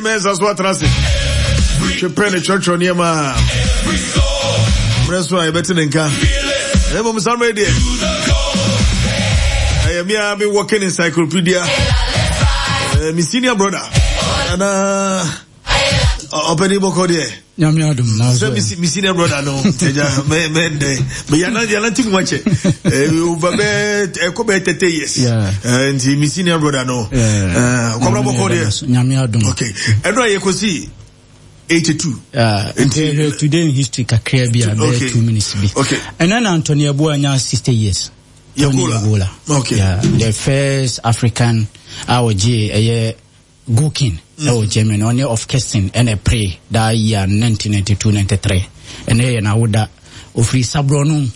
Mɛnsa so atena ase. Twepɛ ne kyerɛkyerɛ nneɛma a mmerɛ so a yɛbɛte ne nka. Na mmom saa mmerɛ deɛ ɛyɛ me a me working encyclopedia. Eh, me senior brother. Ana ɔpɛni bɔkɔ deɛ. Nyame adom na sɛ me senior brother no ɛgya mɛ mɛ ndɛ mɛ yana yana ti mu akyɛ over bɛ ɛkɔ bɛ 30 years nti me senior brother no kɔbra bɔkɔ deɛ. Nyame adom. Okay, ɛno a yɛkɔsi 82. Nti hwɛ today in history kakra bi a bɛyɛ 2 minutes bi. Okay. Ɛnɛ na Anthony Yeboah nya 60 years. Tony Yagola. Okay. Yeah, the first African a ɔgye ɛyɛ Gukin ɛwɔ Germany, ɔne of Kirsten ɛna ɛpere that year 1992-93. Ɛnɛ yɛ n'awoda. Ofiri Saborɔno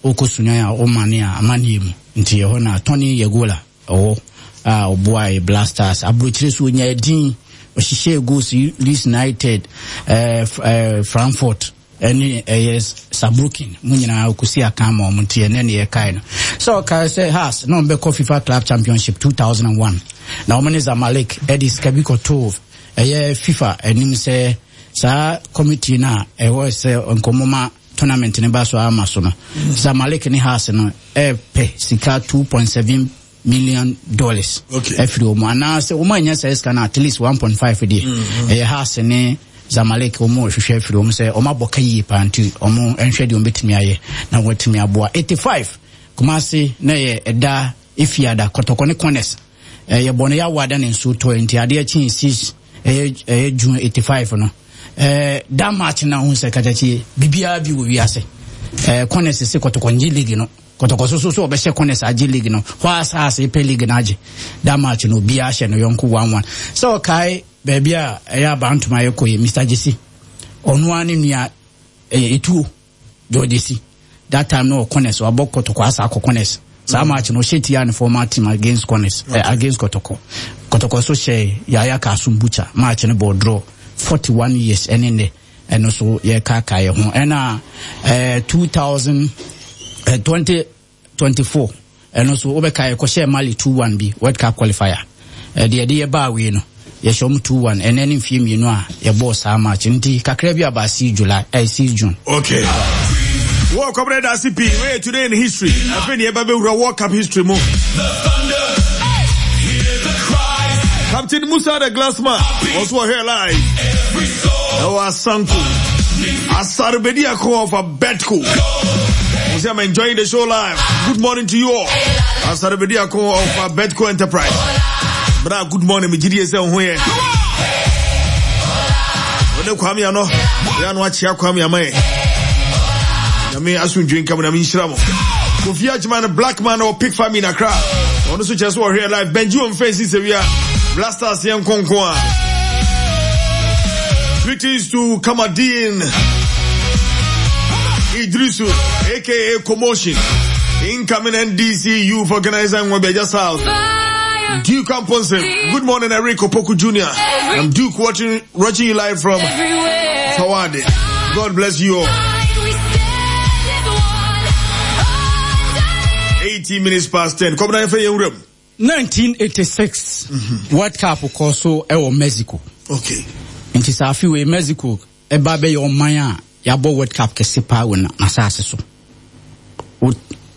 ɔkɔ Sunyani a ɔmane a amanneɛ mu. Nti ɛhɔ na Tony Yagola ɛwɔ a ɔboae Black Stars. Aburokyire so ɔnyaa din, ɔhyehyɛɛ goals Leeds United, eh, eh, Frankfurt. ɛne ɛyɛ Saarbrücken mu nyinaa ɔkɔsi akan ma wɔn nti ɛnɛ ne yɛkae no sɛ ɔkae sɛ Hearts na wɔbɛkɔ FIFA Club Championship 2001 na wɔn ne Zamalek ɛde sika bi kɔtoo ɛyɛ FIFA anim sɛ saa committee no a ɛwɔ sɛ nkɔmmɔ tournament no ba so ama so no Zamalek ne Hearts no ɛpɛ sika 2.7 million dollars afiri wɔn anaasɛ wɔn anya saa sika no at least 1.5 deɛ mm-hmm. ɛyɛ Hearts ne Zamalek wɔn rehwehwɛ afiri wɔn sɛ wɔn abɔ ka yie paa nti wɔn nhwɛ deɛ wɔn bɛtumi ayɛ na wɔatumi aboa 85 Kumasi na ɛyɛ ɛda efiada kɔtɔkɔ ne corners ɛyɛ bɔ no yɛ awada ne nsuo tɔ nti adeɛ kyen 6 ɛyɛ ɛyɛ June 85 no ɛɛ da match na ho sɛ katakye bibiara bi wɔ wiase ɛɛ corners se kɔtɔkɔ ngye league no Kɔtɔkɔ so so so ɔbɛhyɛ corners agye league no hɔ a saa ase pɛ league no agye that match no obiara hyɛ no yɔnko 1-1 sɛ ɔkae baabi a ɛyɛ abantoma yɛkɔ yi Mr. Gyesi ɔno ara ne nua ɛyɛ etuo George Gyesi that time no wɔ corners wabɔ kɔtɔkɔ asa akɔ corners saa match no ɔhyɛ tia ne former team against corners okay. eh, against kɔtɔkɔ kɔtɔkɔ so hyɛ Yaya Kasum Butcher match no bɔ draw 41 years ɛne nnɛ ɛno so yɛkaakae yɛ ho ɛna eh, 2000 eh, 2024 ɛno so wobɛka yɛkɔhyɛɛ Mali 2-1 bi World Cup qualifier ɛde ɛde yɛbaa wei no yɛhyɛ ɔmo 2-1 ɛnɛ ne mfie mmienu a yɛbɔɔ saa match nti kakra bi aba 6 July eh, 6 June. Okay. World Cup da ase pii wei today in history afei ne yɛba bɛwura World Cup history mu. Captain Musa the Glassman also ɔhwɛ live. Ɛwɔ Asanko. Asarbedi Ako of Abetco. We say I'm enjoying the show live. Good morning to you all. Asarbedi Ako of Abetco Enterprise. Bra, good morning. Me gidi ese ho ye. Ode kwame ano. Ya no achia kwame amaye. Nyame asomdwe nka mu na menhyira mo. Kofi Agyeman black man or pick family in Accra. Ɔno nso kyerɛ sɛ ɔhwɛ live. Benji wɔn fɛn si sɛ wia. Blasters yɛn nkonko a. Greetings to Kamadin Idrisu, aka Commotion. Incoming NDC Youth Organizer in Webeja South. Duke Amponse. Good morning, Eric Opoku Jr. I'm Duke watching, watching you live from Fawade. God bless you all. 18 minutes past 10. Come down for your room. 1986 mm-hmm. World Cup kɔ so ɛwɔ Mexico. Okay. Nti saa afi wei Mexico ɛba bɛyɛ ɔman a yɛabɔ World Cup kɛse paa wɔ n'asaase so.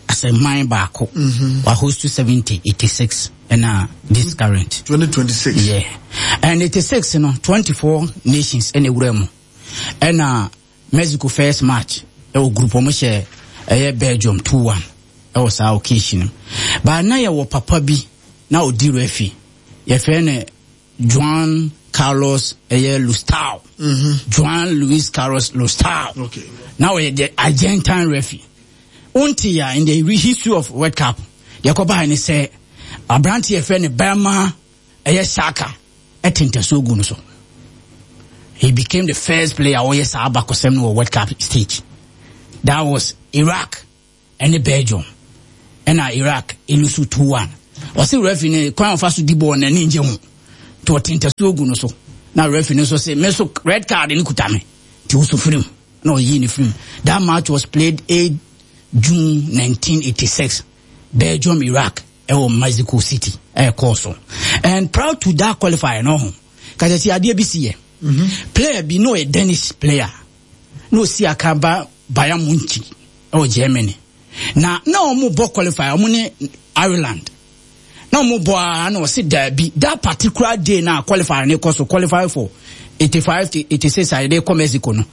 Asɛ man baako. Mm-hmm. Wa host 70, 86 ɛna this current. 2026. Yeah. And 86 no 24 nations ɛna ewura mu. Ɛna Mexico first match ɛwɔ group wɔn hyɛ ɛyɛ Belgium 2-1 ɛwɔ saa occasion no. Baa na yɛwɔ papa bi na ɔdi referee yɛfrɛ no Juan Carlos ɛyɛ Lustau. Mm-hmm. Juan Luis Carlos Lustau. Okay. Na ɔyɛ the Argentine referee. Wonte ya in the history of World Cup deɛ ɛkɔbaeɛ ne sɛ aberante yɛfrɛ no Bɛrma ɛyɛ Saka ɛte ntasuo gu no so. He became the first player ɔyɛ saa abakɔsɛm no wɔ World Cup stage. That was Iraq ɛne Belgium. Ɛna Iraq elusu 2-1. Ɔse referee no kwan ɔfa so di bɔɔl n'ani ngye ho. Nti ɔte ntasuo gu no so. Na referee no nso se me so red card no kuta me. Nti woso firim. Na ɔyii ne firim. That match was played 8 June 1986. Belgium Iraq ɛwɔ Mexico City ɛkɔɔ so. And proud to that qualifier no ho. Kakyɛ adeɛ bi si yɛ. Player bi na ɔyɛ Danish player na osi aka ba Bayern Munich ɛwɔ Germany. Na wɔn bɔ qualify, wɔn ne Ireland. Na wɔn bɔ a, na ɔsi daabi, that particular day na qualify ne kɔ so, qualify for 85 to 86 a yɛde kɔ Mexico no.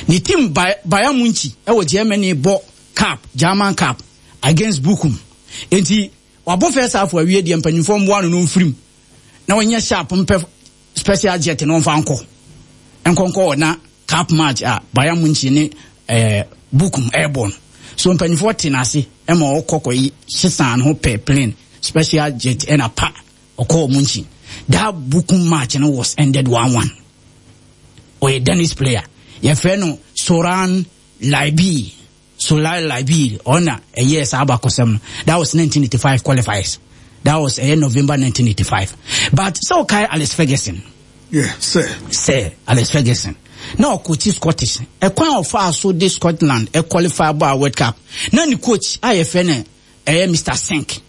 Ne team Bayern Munich ɛwɔ Germany bɔ cup, German Cup, against Bochum. Nti wabɔ first half awie deɛ, mpanyinfoɔ mboa no mfirim na wɔnyɛ sharp mpɛ special jet na wɔmfa nkɔ nkɔnkɔ na cup match a Bayern Munich ne Bochum ɛrebɔ no. So mpanyinfoɔ te n'ase ɛma ɔkɔ kɔ yi sisan ho pɛ plane, special jet, ɛna pa ɔkɔɔ Munich. That Bochum match no was ended 1-1. Ɔyɛ Danish player, yɛfrɛ no Soren Lerby, Soren Lerby. Ɔna ɛyɛ saa abakɔsɛm no. That was 1985 qualifiers. That was ɛyɛ November 1985. But sɛ ɔkae Alex Ferguson? Yeah, sir. Sir Alex Ferguson na ɔkɔkyi Scottish. Ɛkwan a ɔfaa so de Scotland ɛqualify bɔ a World Cup na ne coach a yɛfrɛ no ɛyɛ Mr Sink,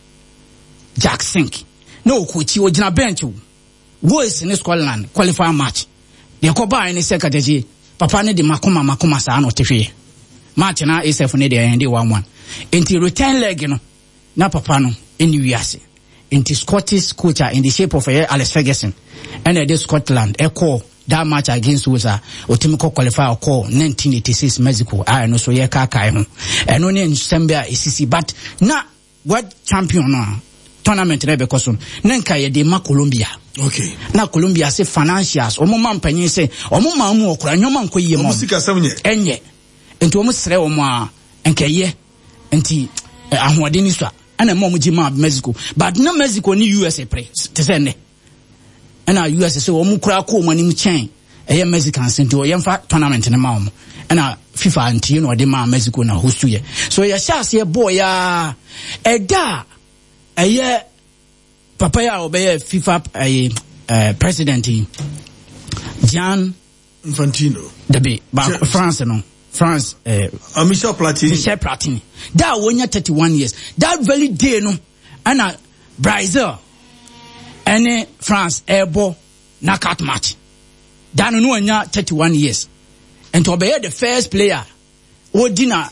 Jack Sink, na ɔkɔkyi, ɔgyina bench o. Wales ne Scotland qualify match deɛ ɛkɔbaeɛ ne sɛ, katakyi papa ne de makoma makoma saa na ɔte hwee match na asf ne deɛ ɛyɛn de 1-1. Nti return leg no na papa no ɛni wiase. Nti Scottish coach a in the shape of ɛyɛ Alex Ferguson ɛna ɛde Scotland ɛkɔɔ that match against Wales a ɔtumi kɔ qualify ɔkɔɔ 1986 Mexico a ɛno so yɛ kaakae ho. Ɛno ne nsɛm bi a ɛsisi. But na world champion no a tournament na ɛbɛkɔ so no, na nka yɛde ma Colombia. Na Colombia se financials, wɔn ma mpanyin sɛ wɔn maa mu ɔkora nneɛma nkɔ yie ma wɔn sikasɛm nyɛ. Ɛnyɛ, nti wɔn srɛ wɔn a nkɛyɛ nti ahoɔden ni so a ɛna ɛma wɔn gye maa Mexico. But na Mexico ne USA pere te sɛ nnɛ, ɛna USA sɛ wɔn kura kɔ wɔn anim kyɛn ɛyɛ Mexicans, nti wɔyɛmfa tournament no ma wɔn. Ɛna FIFA ntie na ɔde maa Mexico na host yɛ. So yɛhyɛ aseɛ bɔɔ yaa ɛda a ɛyɛ papa yi a ɔbɛyɛ FIFA ɛyɛ president yi, Gian Infantino. Dabi, baako, France no, France Michel Platini. Michel Platini da a wɔnya 31 years, that very day no, ɛna Brazil ɛne France ɛrebɔ knockout match. Da no wanya 31 years, nti ɔbɛyɛ the first player wɔdi na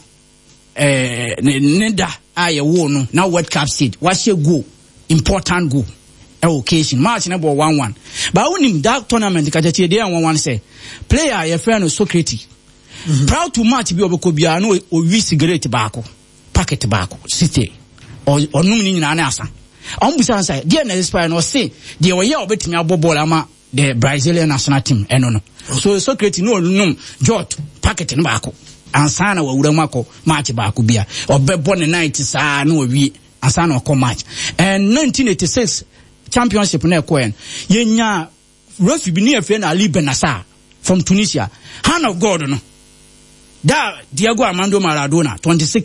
ne da a yɛwoo no na World Cup stage wahyɛ goal, important goal ɛwɔ occasion. Match no bɔ 1-1. But wonim that tournament, kakyɛkyɛ deɛ 1-1 sɛ player a yɛfrɛ no Socrates, prior to match bi a ɔbɛkɔ biara na owi cigarette baako, packet baako site, ɔnom ne nyinaa ne asa. Ɔmo bisa no sɛ deɛ na expire no, ɔse deɛ ɔyɛ a ɔbɛtumi abɔ bɔɔl ama the Brazilian national team ɛno no. So Socrates no ɔnom jot packet no baako ansa na wawura mu akɔ match baako bia ɔbɛbɔ ne night saa na wawie ansa na ɔkɔ match. And 1986 championship na ɛkɔɛ no, yɛnya referee bi ne yɛfrɛ no Ali Benassa from Tunisia, hand of God no da. Diego Armando Maradona 26.